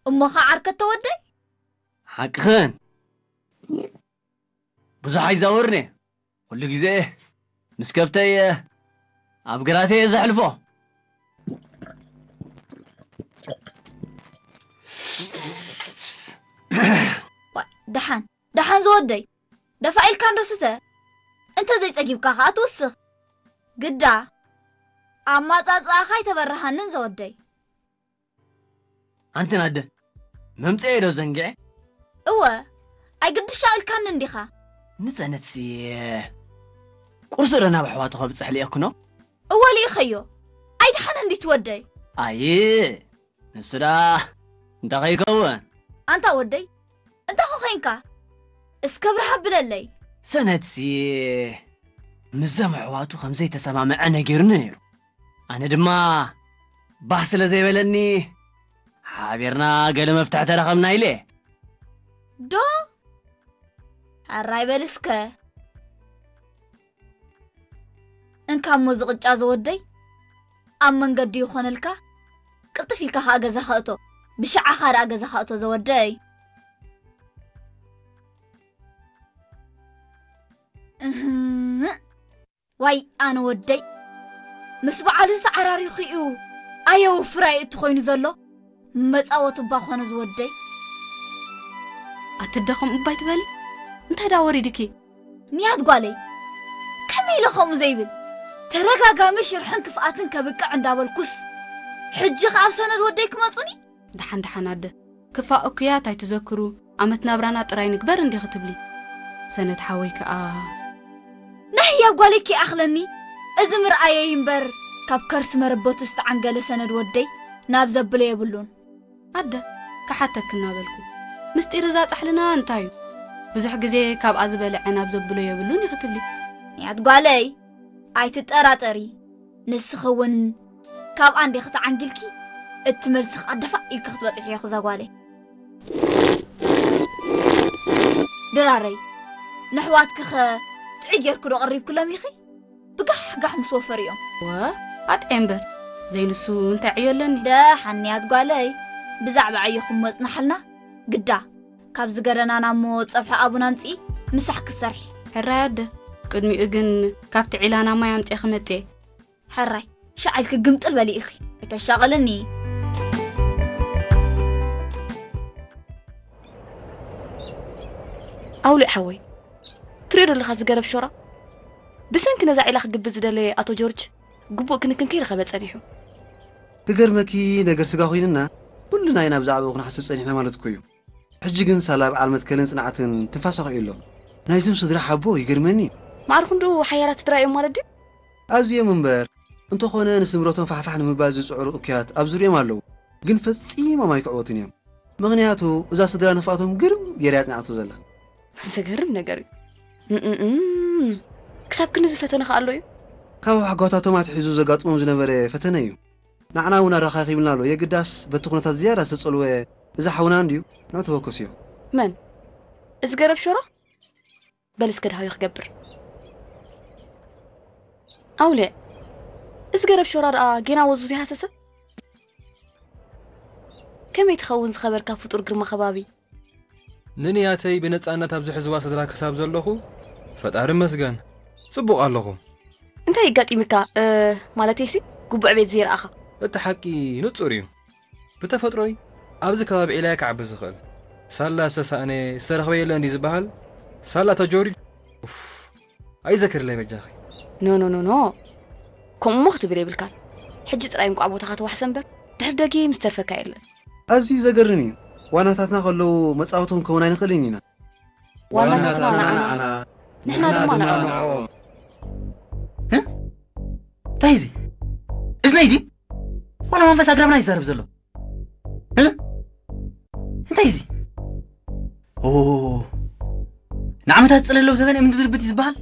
እሞ ኸዓ ዓርከ ተወደይ? ሓቅኽን። ብዙሕ ኣይዛወርነ። ኩሉ ግዜ ምስ ከብተይ ኣብ ግራተይ እየ ዘሕልፎ። ዋይ፣ ደሓን፣ ደሓን ዝወደይ። ደፋ ኢልካ እንዶ ስተ። እንተ ዘይጸጊብካ ኸኣ ትውስኽ። ግዳ፣ ኣማጻጽኣኻ ኣይተበረሃንን ዘወደይ። ኣንቲ ናደ፣ መምጽኤ ዶ ዘንግዐ? እወ፣ ኣይግድሻ ኢልካኒ እንዲኻ። ንጸነትሲ፣ ቁርሲ ዶ ናብ ኣሕዋቱ ከብጽሕ ልእኩኖ? እወ፣ ልኢኸዮ። ኣይደሓነ እንዲ ትወደይ። ኣይ፣ ንሱ ደኣ እንታይ ከይከውን? ኣንታ ወደይ፣ እንታይ ኮ ኸይንካ? እስከ ብርሃ ብለለይ። ሰነትሲ፣ ምስዞም ኣሕዋቱ ከም ዘይተሰማምዐ ነጊሩኒ ነይሩ። ኣነ ድማ ባህ ስለ ዘይበለኒ፣ ሓቢርና ገለ መፍትሒ ተረኸብና ኢለ። ዶ? ሕራይ በል እስከ። እንካ እሞ ዝቕጫ ዘወደይ፣ ኣብ መንገዲ ይኾነልካ፣ ቅልጥፍ ኢልካ ኸኣ ገዛኻ እቶ። ብሽዓኻ ደኣ ገዛኻ እቶ ዘወደይ። እህ። ዋይ ኣነ ወደይ፣ ምስ በዓሉ ዝተዓራሪኹ እዩ። ኣየውፍር ኣየእቱ ኮይኑ ዘሎ መጻወቱ እባ ኮነ ዝወደይ። ኣትደኸም እባይ ትበሊ? እንታይ ዳ ወሪድኪ? ንያት ጓለይ፣ ከመይ ኢለ ከምኡ ዘይብል? ተረጋጋሚ ሽርሕን ክፍኣትን ከብቅዕ እንዳበልኩስ፣ ሕጂ ኸኣ ኣብ ሰነድ ወደይ ክመጹኒ? ደሓን ደሓን ኣደ፣ ክፋእ እኩያት ኣይትዘክሩ፣ ኣመት ናብራና ጥራይ ንግበር እንዲኺ ትብሊ። ሰነድ ሓወይ ከኣ። ናይ ህያብ ጓለይ ከይኣኽለኒ፣ እዚ ምርኣየይ እምበር፣ ካብ ከርሲ መረበቱ ዝተዓንገለ ሰነድ ወደይ ናብ ዘብሎ የብሉን። ኣደ፣ ክሓተኪ እናበልኩ፣ ምስጢር እዛ ጻሕልና እንታይ እዩ? ብዙሕ ግዜ ካብኣ ዝበልዐ ናብ ዘብሎ የብሉን ኢኺ ትብሊ። ንያት ጓለይ፣ ኣይትጠራጠሪ፣ ንስኺ እውን ካብኣ እንዲኺ ተዓንጊልኪ፣ እቲ መልሲ ኸኣ ደፋእ ኢልኪ ክትበጽሕዮ እዛ ጓለይ። ድራረይ፣ ነሕዋትኪኸ ጥዑይ ጌርኪ ዶ ቀሪብክሎም ኢኺ? ብጋሕጋሕ ምስ ወፈሩ እዮም። ወ፣ ኣጥዕየ እምበር፣ ዘይንሱ እንታይ ዕዮ ኣለኒ? ደሓን ንያት ጓለይ፣ ብዛዕባ ዕዮኹም መጽናሓልና ግዳ። ካብዚ ገረናና እሞ ጸብሒ ኣቡን ኣምጽኢ፣ ምሳሕ ክትሰርሒ። ሕራይ ኣደ፣ ቅድሚኡ ግን ካብቲ ዒላና ማይ ኣምጽኤ ክመጽእ እየ። ሕራይ፣ ሻዕ ኢልኪ ግምጥል በሊ ኢኺ። ኣይተሻቕልኒ። ኣውሊዕ ሓወይ፣ ትሪኦ ዶ ኣለኻ እዚ ገረብ ሾራ? ብሰንኪ ነዛ ዒላ ክግብዝ ዝደለየ ኣቶ ጆርጅ ግቡእ ክንክን ከይረኸበ ጸኒሑ። ክገርመኪ፣ ነገር ስጋ ኮይንና፣ ኩልና ኢና ብዛዕባኡ ክንሓስብ ጸኒሕና ማለት እኮ እዩ። ሕጂ ግን ሳላ በዓል መትከልን ጽንዓትን ትንፋሳ ኾይኑ ኣሎ። ናይዞም ስድራ ሓቦ ይገርመኒ። ማዕረ ክንድኡ ሓያላት ስድራ እዮም ማለት ድዩ? ኣዝዮም እምበር። እንተኾነ ንስምረቶም ፋሕፋሕ ንምባል ዝጽዕሩ እኩያት ኣብ ዙርዮም ኣለዉ። ግን ፈጺሞም ኣይክዕወቱን እዮም። ምኽንያቱ እዛ ስድራ ንፍኣቶም ግርም ገይራ እያ ጽንዓቶ ዘላ። ዘገርም ነገር እዩ። እምእም። ክሳብ ክንዚ ፈተነ ከ ኣሎ እዩ? ካብ ኣሕጓታቶም ኣትሒዙ ዘጋጥሞም ዝነበረ ፈተነ እዩ። ንዓና እውን ኣረኻኺብና ኣሎ። የግዳስ በቲ ኩነታት ዝያዳ ዝተጸልወ እዛ ሓውና እንድዩ። ንዑ ተወከስዮ። መን? እዚ ገረብ ሸሮ? በል እስከ ድሃዮ ክገብር። ኣውሊዕ፣ እዚ ገረብ ሸራ ደኣ ጌና ወዙ ዘይሃሰሰ? ከመይ ትኸውን ዝኸበርካ ፍጡር ግርማ ከባቢ? ንንያተይ ብነጻነት ኣብዚ ሕዝዋ ስድራ ክሳብ ዘለኹ፣ ፈጣሪ መስገን፣ ጽቡቕ ኣለኹ። እንታይ ኣጋጢምካ? እ፣ ማለተይሲ፣ ግቡዕ ቤት ዘይረኣኻ? እቲ ሓቂ ንጹር እዩ። ብተፈጥሮይ ኣብዚ ከባቢ ዒላየ ክዓቢ ዝኽእል። ሳላ ዝተሳእነ ዝተረኽበ የለን ድዩ ዝበሃል? ሳላ ተጆሪ-፣ ኡፍ፣ ኣይዘክርለይ በጃኺ። ኖ፣ ኖ፣ ኖ፣ ኖ። ከምኡ እሞ ክትብል የብልካን። ሕጂ ጥራይ እንቋዕ ቦታኻ ተዋሕሰ እምበር፣ ድሕሪ ደጊም ዝተርፈካ የለን። ኣዝዩ ዘገርም እዩ። ዋናታትና ከለዉ መጻወቶም ክኸውን ኣይንኽእልን ኢና። ዋናታትና ዋናታትና ንዓና፣ ንዓና፣ ንሕና ንሕና ድማ ድማ ንዕኦም። ንዕኦም። ህ? እንታይ እዚ? እዝነይ ድዩ? ዋላ መንፈስ ኣግራብና ይዛረብ ዘሎ? እ? እንታይ እዚ? ኦ፣ ንዓመታት ዝጸለለው ዘበን እምኒ ድርብት እዩ ዝበሃል?